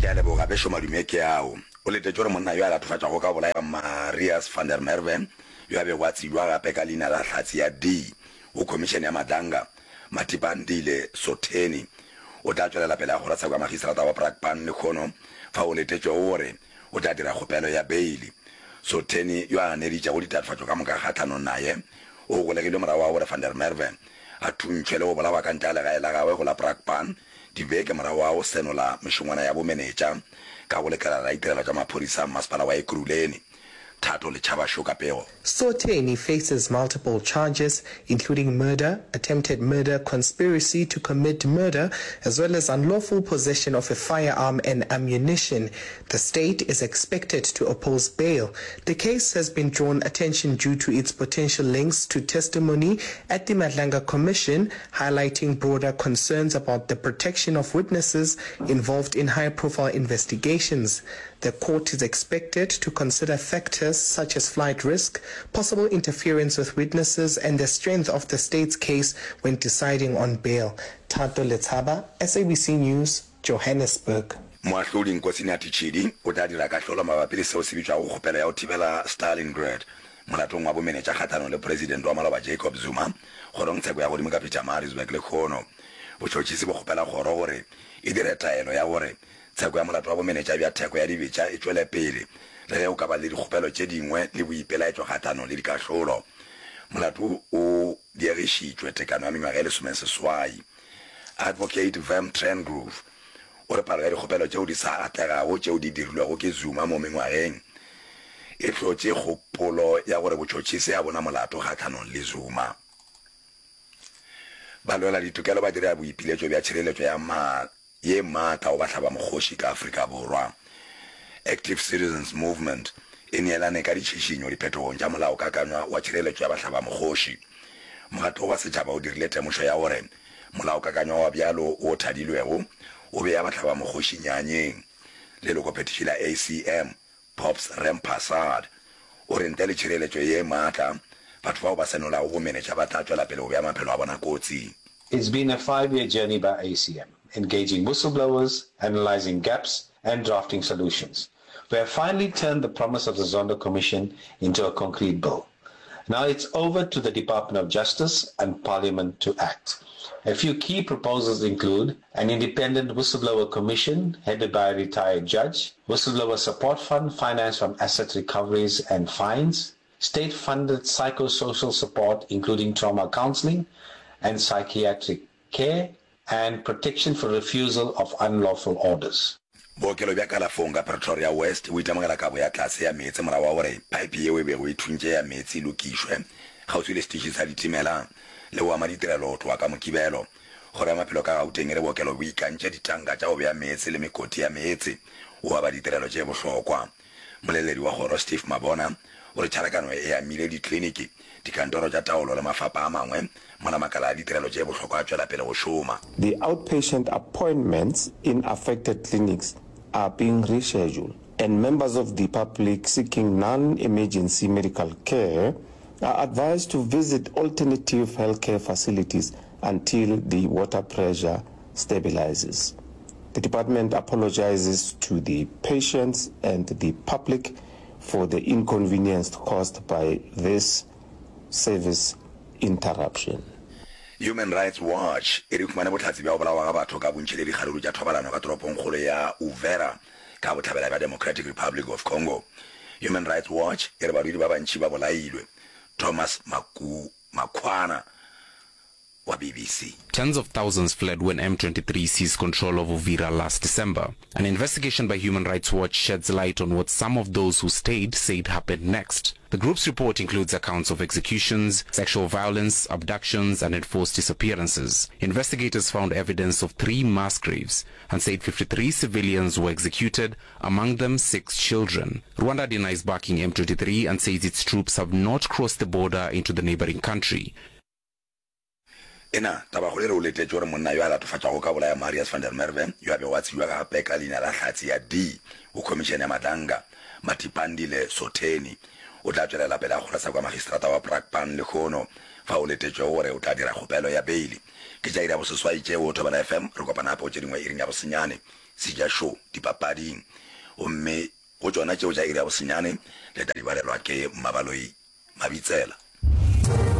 Ke a leboga, bešo madume ke ao. O letetše gore monna yo a latofatšwago ka go bolaya Marius van der Merwe, yo a bego a tsebjwa gape ka leina la Hlatse ya D go Khomišene ya Madlanga, Matipa Andile Sotheni, o tla tšwelela pele ga kgorotsheko ya Magistrata wa Brakpan lehono, fao o letetšwego gore o tla dira kgopelo ya beili. Sotheni, yo a ganeditšego ditatofatšo ka moka kgahlanong naye, o golegilwe morago ga gore van der Merwe a thuntšhwe le go bolawa ka ntle ga legae la gagwe go la Brakpan dibeke morago ga go senola mešongwana ya bomenetša ka go lekala la ditirelo tša maphodisa mmasepala wa Ekurhuleni. Thato Lechaba Šo ka pego. Sotheni faces multiple charges, including murder, attempted murder, conspiracy to commit murder, as well as unlawful possession of a firearm and ammunition. The state is expected to oppose bail. The case has been drawn attention due to its potential links to testimony at the Madlanga Commission, highlighting broader concerns about the protection of witnesses involved in high-profile investigations. The court is expected to consider factors such as flight risk, possible interference with witnesses and the strength of the state's case when deciding on bail. Thato Letshaba, SABC News, Johannesburg. Moahlodi Nkosinathi Chidi o tla dira kahlolo mabapi le seo se bitšwago kgopelo ya go thibela Stalingrad molatong wa bomenetša kgahlanong le Presidente wa maloba Jacob Zuma kgorongtsheko ya godimo ka Pietermaritzburg lehono. Botšhotšhisi bo kgopela kgoro gore e dire taelo ya gore Tsheko ya molato wa bomenetša bja theko ya dibetša e tšwele pele le ge go ka ba le dikgopelo tše dingwe le boipelaetšo kgahlanong le dikahlolo. Molato o diegišitšwe tekano ya mengwaga e lesomeseswai. Advocate Vem Trengrove o re palo ya dikgopelo tšeo di sa atlegago tšeo di dirilwego ke Zuma mo mengwageng e hlotše kgopolo ya gore botšhotšhisi ga bo na molato kgahlanong le Zuma. Balweladitokelo ba dira boipiletšo bja tšhireletšo ya ye maatla go bahlabamokgoši ka Afrika Borwa. Active Citizens Movement e neelane ka ditšhišinyo diphetogong tša Molaokakanywa wa Tšhireletšo ya Bahlabamokgoši. Mokgatlo wa setšhaba o dirile temošo ya gore molaokakanywa wa bjalo wo thadilwego o bea bahlabamokgoši nyanyeng. Lelokophethiši la ACM, Pops Rampersad, o re ntle le tšhireletšo ye maatla, batho bao ba senolago bomenetša ba tla tšwela pele go bea maphelo a bona kotsing. It's been a five-year journey by ACM, engaging whistleblowers, analysing gaps and drafting solutions. We have finally turned the promise of the Zondo Commission into a concrete bill. Now it's over to the Department of Justice and Parliament to act. A few key proposals include an independent whistleblower commission headed by a retired judge, whistleblower support fund financed from asset recoveries and fines, state-funded psychosocial support including trauma counseling and psychiatric care, and protection for refusal of unlawful orders. Bookelo bja kalafong ka Pretoria West bo itemogela kabo ya tlase ya meetse morago ga gore phaephe yeo e bego e thuntše ya meetse e lokišwe kgauswi le setiši sa ditimela le go ama ditirelo go tloga ka Mokibelo. Kgoro ya Maphelo ka Gauteng e re bookelo bo ikantše ditanka tša go bea meetse le mekoti ya meetse go aba ditirelo tše bohlokwa. Moleledi wa kgoro Steve Mabona o re tšharakano e amile dikliniki, dikantoro tša taolo le mafapa a mangwe mola makala a ditirelo tše bohlokwa a tšwela pele go šoma. The outpatient appointments in affected clinics are being rescheduled and members of the public seeking non-emergency medical care are advised to visit alternative healthcare facilities until the water pressure stabilizes. The department apologizes to the patients and the public for the inconvenience caused by this service interruption. Human Rights Watch e re humane bohlatse bja go bolawa ga batho ka bontši le dikgaruru tša thobalano ka toropongkgolo ya Uvira ka bohlabela bja Democratic Republic of Congo. Human Rights Watch e re badudi ba bantši ba bolailwe. Thomas Maku Makhwana wa BBC. Tens of thousands fled when M23 seized control of Uvira last December. An investigation by Human Rights Watch sheds light on what some of those who stayed said happened next. The group's report includes accounts of executions, sexual violence, abductions, and enforced disappearances. Investigators found evidence of three mass graves and said 53 civilians were executed, among them six children. Rwanda denies backing M23 and says its troops have not crossed the border into the neighboring country. Ena, tabakgolo e re o letetše gore monna yo a latofatšwago ka bolaya Marius van der Merwe, yo a bego a tsebjwa gape ka leina la Hlatse ya D go Khomišene ya Madlanga, Matipandile Sotheni, o tla tšwelela pele ga kgorotsheko ya magistrata wa Brakpan lehono, fao o letetšwego gore o tla dira kgopelo ya beili. Ke tša iri ya boseswai tšeo, Thobela FM, re kopana gape go tše dingwe iring ya bosenyane, Seja Show, dipapading. Gomme go tšona tšeo tša iri ya bosenyane, le tla di balelwa ke Mmabaloi Mabitsela.